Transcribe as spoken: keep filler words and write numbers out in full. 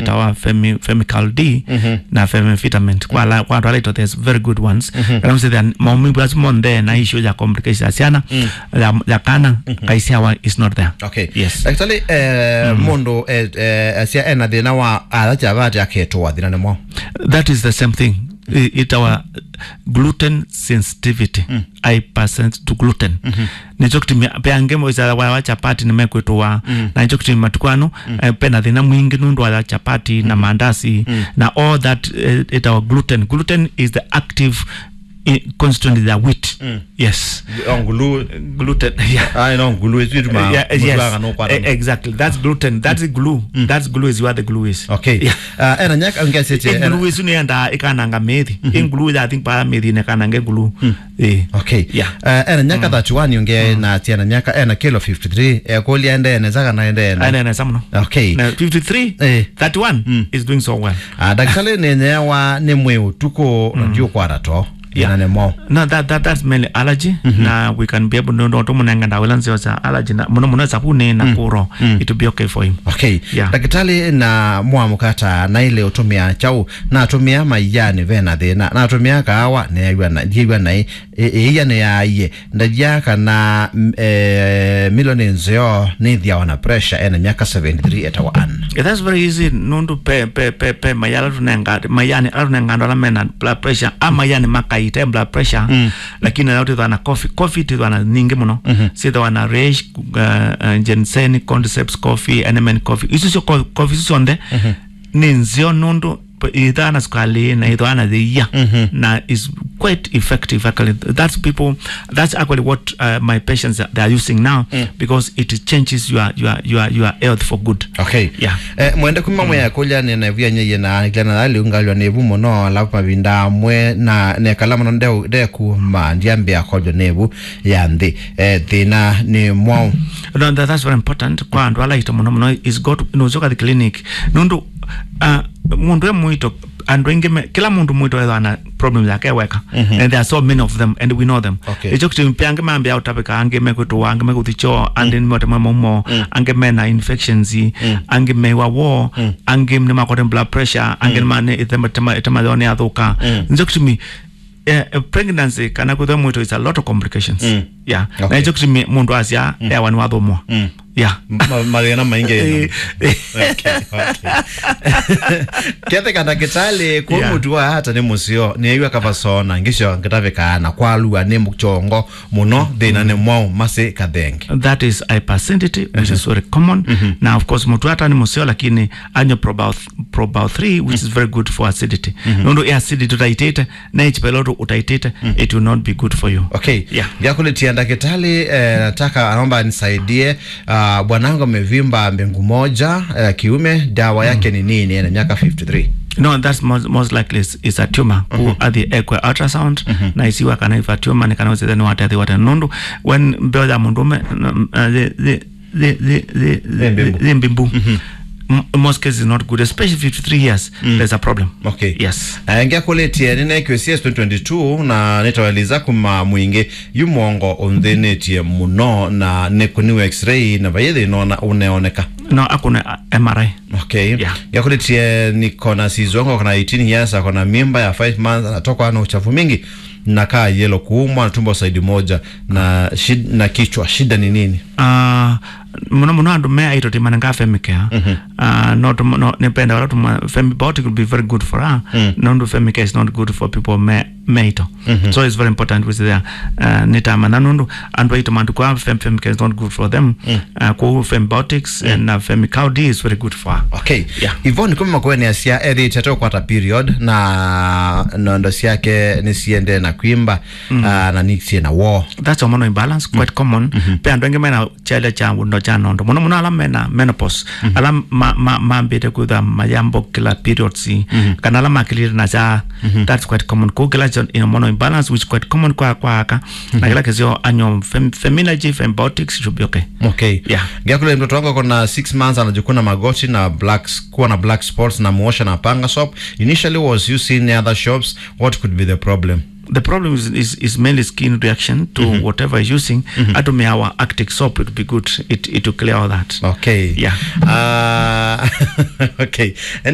ĩtawa femi-, Femical D na femifitament. Kwa ala, kwa andũ ala ito, there's very good ones. Kana msĩ then, maumivu asu monthe na issue ya complication ya syana, ya, ya kana, kaisyawa is not there. Okay. Yes. Daktari, eh, mũndũ, eh, eh, asya ena thĩna wa ala chavati aketwa thĩna nĩ mwaũ? That is the same thing. I-, ĩtawa gluten sensitivity. Hypersensitivity to gluten. Nĩkyo kĩtumi pe angĩ moisaga wa, wa chapati nĩmekwĩtũa. Na nĩkyo kĩtumi matukũ ano, eh, pena thĩna mwingĩ nũndũ wa chapati na mandasi na all that, eh, ĩtawa gluten. Gluten is the active, eh, constituent ya wheat. Yes. Oh, ngulu. Gluten, yeah. Ah, no, ngulu is it ma-, yeah, yes. Mũtuaga no kwa. Eh, exactly. That's gluten. That's the glue. That's glue is what the glue is. Okay. Yeah. Ah, ena nyaka ngesi che. Eh, ena- glue is nĩenda ĩkananga mĩthi. Ĩ glue, I think, pa mĩthi nĩkanange glue. Eh. Okay. Yeah. Eh, ena nyaka thirty-one yonge na tiana nyaka ena kilo fifty-three. Eh, kũlya ende nesa kana ende ene? Ene nesa mũno. Okay. Na fifty-three, eh, thirty-one is doing so well. Ah, daktari, nĩnyewa nĩ mwĩ ũtukũ, ndiũkwata to. Yeah. Ina nĩ mwaũ? No, that, that, that's mainly allergy. Na we can be able to, no, tũmũnenga ndawa ila nzeo sya allergy na, mũno mũno sabuni na kũro. It will be okay for him. Okay. Yeah. Daktari, na mwamũkata na ile ũtũmĩa kyaũ? Natũmĩa maiani vena thĩna. Natũmĩa kaawa, nĩyaiwa na, ndiaiwa naĩ. Ĩ-, ĩia nĩyaie. Ndavya kana, mm, eh, milo nĩ nzeo, nĩthĩawa na pressure ena myaka seventy-three etawa Ann. Yeah, that's very easy. Nũndũ pe, pe, pe, pe mai ala tũnenga, maiani ala tũnenga andũ ala mena blood pressure, a maiani makaite blood pressure, lakini ala twĩthwa na coffee, coffee twĩthwa na nyingĩ mũno. Syĩthwa na reishi, uh, uh, ginseng, cordyceps coffee, enemen coffee. Isu syo co-, coffee isu syonthe nĩ nzeo nũndũ ĩthaa na sukali na ĩthaa na thĩia na is quite effective actually. That's people, that's actually what, uh, my patients are, they are using now because it changes your, your, your, your health for good. Okay. Yeah. Eh, mwende kuma mwe ya kũlya nĩ na ĩvu ya nyeye na nĩkĩla na lĩu ngalwa nĩ ĩvu mũno, alafu mavinda amwe na nekala mũno nde-, ndekuma ndiambĩa kolyo nĩ ĩvu ya nthĩ. Eh, thĩna nĩ mwaũ? No, that, that's very important. Kwa andũ ala aito mũno mũno is go to, no, ũsyoka the clinic. Nũndũ, uh, mũndũ e mũito, andũ aingĩ me, kĩla mũndũ mũito ethwa na problem yake weka. And there are so many of them and we know them. Okay. Ĩkyo kĩtumi pe angĩ mambĩa ũtavĩka, angĩ mekwĩtũa, angĩ mekũthi choo, angĩ nĩmote mwe maumo, angĩ mena infections, angĩ meiwa woo, angĩ nĩmakwate blood pressure, angĩ nĩma-, nĩ ĩtema, ĩtema, ĩtema yao nĩyathũka. Nĩkyo kĩtumi eh, eh, pregnancy kana kwĩthwa mwĩto is a lot of complications. Yeah. Na okay. Ĩkyo kĩtumi mũndũ asya ewa nĩwathũmũa. Yeah. Ma-, mathĩna maingĩ ĩno. Eh, eh. Okay, okay. Ketheka ndakĩtalĩ, kwa yeah. Mũtu wa hata nĩ mũseo, nĩaiwa kavasona, ngĩsyo ngĩtavĩkaa na kwalua nĩ mũchongo mũno, thĩna nĩ mwaũ, masĩ kathenge. That is hyperacidity, which is very common. Na of course, mũtu wa hata nĩ mũseo, lakini anywe Probao th-, Probao three, which is very good for acidity. Nũndũ ya acidity ũtaitĩte, na H pylori ũtaitĩte, it will not be good for you. Okay. Yeah. Ngakũlĩtia ndakĩtalĩ, eh, nataka, anaomba nisaidie, ah, bwanangu amevimba mbingu moja, eh, kiume, dawa yake ni nini? Ana miaka fifty-three. No, that's most, most likely is, is a tumor. Ku athi ekwe ultrasound, na isiwa kana if a tumor, nĩ kana ũsithe nĩ watethi wate. Nũndũ, when mbeo ya mũndũme, n-, n-, uh, the, the, the, the, the, the, the mbimbu. M-, in most cases is not good, especially fifty-three years, there's a problem. Okay. Yes. Eh, ngakũlĩtie, nĩnekiwe C S twenty twenty-two, na nĩtaweliza kuma mwingĩ, yu mwongo ũnthĩnĩtie mũno, na nĩkũniwe x-ray, na vaithi nona ũneoneka. No, akuna, uh, M R I. Okay. Yeah. Ngakũlĩtie, niko na sizongo, kana eighteen years, akona mimba ya five months, anatokwa na uchafu mingi, na kaa yellow, kuumwa na tumbo side moja, na shid-, na kichwa. Shida ni nini? Ah, mũno mũno andũ me aito timanenga Femicare. Ah, no tũm-, no, nĩpenda wala tuma, Femibiotic will be very good for her. Nũndũ Femicare is not good for people me, me aito. So it's very important with there. Ah, nĩtamanya nũndũ andũ aito matukũ aa Fem-, Femicare is not good for them. Ah, kwoou Femibiotics and, uh, Femi-Cow D is very good for her. Okay. Yeah. Yvonne kuma Makueni asya ethĩĩte atokwata period na nondo syake nĩsiendee na kwimba, ah, na nĩsiĩ na woo. That's hormonal imbalance, quite common. Pe andũ angĩ mena kyalya kya ũndo kya nondo. Mũno mũno ala mena menopause. Ala ma-, ma-, mambĩte kwĩthwa mayambũkĩla periods. Kana ala makĩlĩte na kya, that's quite common. Kwoou kĩla kyo hormonal imbalance, which quite common kwa, kwa aka. Na kĩla kĩseo anyo fem-, Feminagy, Femibiotics should be okay. Okay. Yeah. Ngakũlĩtia mtoto wangu akona six months anajikuna magoti na black s-, kuwa na black spots na muosha na panga soap. Initially was using other shops. What could be the problem? The problem is, is, is mainly skin reaction to whatever is using. Atumia our Arctic soap, it would be good. It, it will clear all that. Okay. Yeah. Uh, okay.